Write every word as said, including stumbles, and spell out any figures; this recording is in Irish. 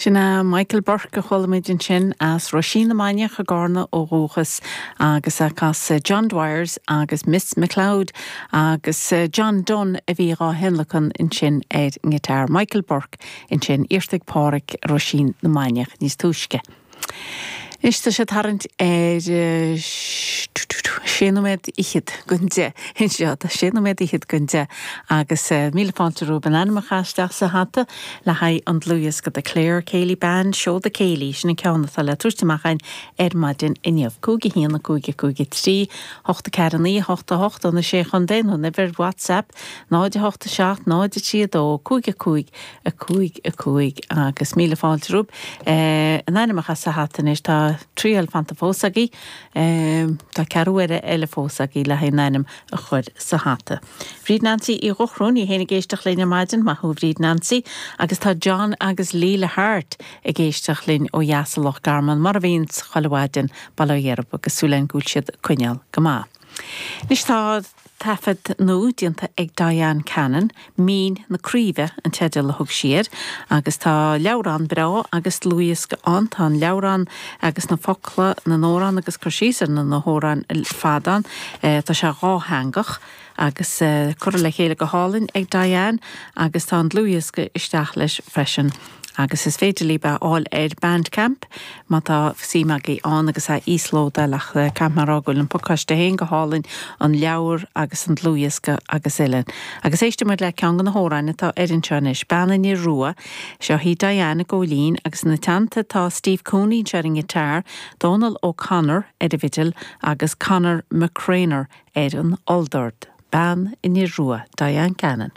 Sin é Michael Burke a chuala muid ansin as Roisín na Mainiach i gCarna ó dhúchas agus ag casadh John Dwyer's agus Miss McLeod agus John Dunn a bhí á thionlacan ansin ar ngiotár Michael Burke ansin iarrta ag Pádraig Roisín na Mainiach níos túisce. Anois tá sé tarraingt ar sé nóiméad fhichead don deich anseo tá sé nóiméad fhichead don deich agus míle fáilte romhaibh an ainm a chur isteach sa hata le haghaidh an dlúthdhiosca de Clare Céilí Band Seoda Céilí sin an ceann atá le tabhairt amach againn ar maidin inniu. Cúig a haon a cúig a cúig a trí, hocht a ceathair naoi a hocht a hocht ó na sé chontae nó an uimhir WhatsApp náid a hocht a seacht náid a trí a dó cúig a cúig a cúig a cúig agus míle fáilte romhaibh an ainm a chur sa hata anois tá triail fanta fós agaibh tá ceathrú uaire eile fós agaibh le haghaidh an ainm a chur sa hata. Bríd Nancy Uí Dhochróin í féin ag éisteacht linn ar maidin maith thú Bríd Nancy agus tá John agus Leila Hart ag éisteacht linn ó dheas i Loch Garman mar a bhíonn chuile mhaidin bail ó Dhia orthu agus súil go bhfuil siad ag coinneáil go maith. Anois tá taifead nua déanta ag Diane Cannon, Mín na Craoibhe an teideal a thug sí air, agus tá leabhrán breá agus dlúthdhiosca ann, tá an leabhrán agus na focla na n-amhrán agus cur síos ar na hamhráin fad ann, tá sé dhátheangach agus curtha le chéile go hálainn ag Diane agus tá an dlúthdhiosca isteach leis freisin. agus is féidir libh é a fháil ar Bandcamp má tá suim agaibh ann agus é íoslódáil ach caithfidh mé a rá go bhfuil an pacáiste féin go hálainn an leabhar agus an dlúthdhiosca agus uile. Agus éistfidh muid le ceann de na hamhráin atá ar anseo anois Bean an Fhir Rua, seo hí Diane i gCóilín agus ina teannta tá Steve Cooney ar an ngiotár, Donal O'Connor ar an bhfidil agus Conor McCrainer ar an olldord. Bean an Fhir Rua, Diane Cannon.